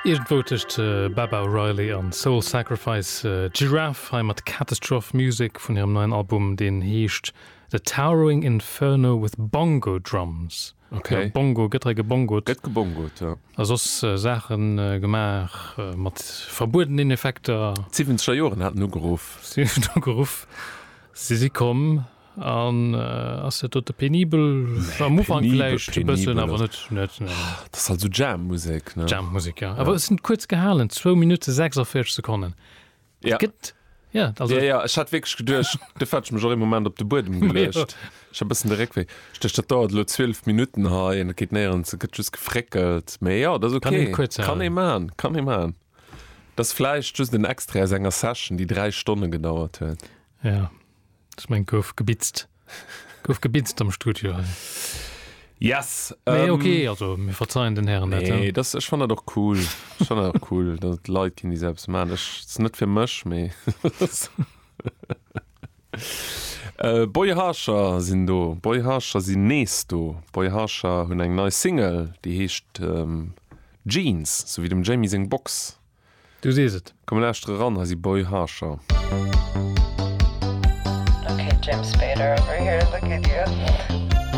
Iergendwou tëscht Baba O'Riley an Soul Sacrifice, Giraffe hei mat Catastrophe Music vun hirem neien Album, deen heescht The Towering Inferno with Bongo Drums. Okay. Jo, Bongo, gëtt hei gebongot. Gëtt gebongot, jo. A soss Saache gemaach mat verbuedenen Effekter. D'Siwwenzeger Joren haten ugeruff. Si hunn ugeruff, si si komm. An ass dat dote penibel? Am Ufank vläicht e bëssen, awer net, net, net. Dat ass halt esou Jam-Musek, ne? Jam-Musek, ja. Awer et sinn kuerz gehalen, zwou Minutte 46 Sekonnen. Ja. Gëtt, ja, also. Ja, ja, ech hat wierklech geduecht, duerfir hat ech mech och ee Moment op de Buedem geluecht. Ech hat e bëssen de Réckwéi. Ech duecht, dat dauert elo 12 Minutten hei an et geet néierens, et gëtt just gefréckelt. Mee jo, dat ass Kann ok. een kuerz Kann halen. ee man, kann ee man. Dat ass vläicht just en Extrait aus enger Session, déi 3 Stonne gedauert huet. Ja. Ech meng gouf gebitzt. Gouf gebitzt am Studio hei. Yes! Mee ok, also mir verzeien den Hären dat. Nee, das, ech fann dat och cool. Ech fann dat och cool, datt et Leit ginn, déi esou eppes maachen. Ech, et ass net fir mech, mee Boy Harsher sinn do. Boy Harsher sinn nees do. Boy Harsher hunn eng nei Single, déi heescht Jeans, sou wéi dem Jamie seng Box. Du sees et. Komm mir lauschtere ran, hei si Boy Harsher. Ok James Spader over here, look at you.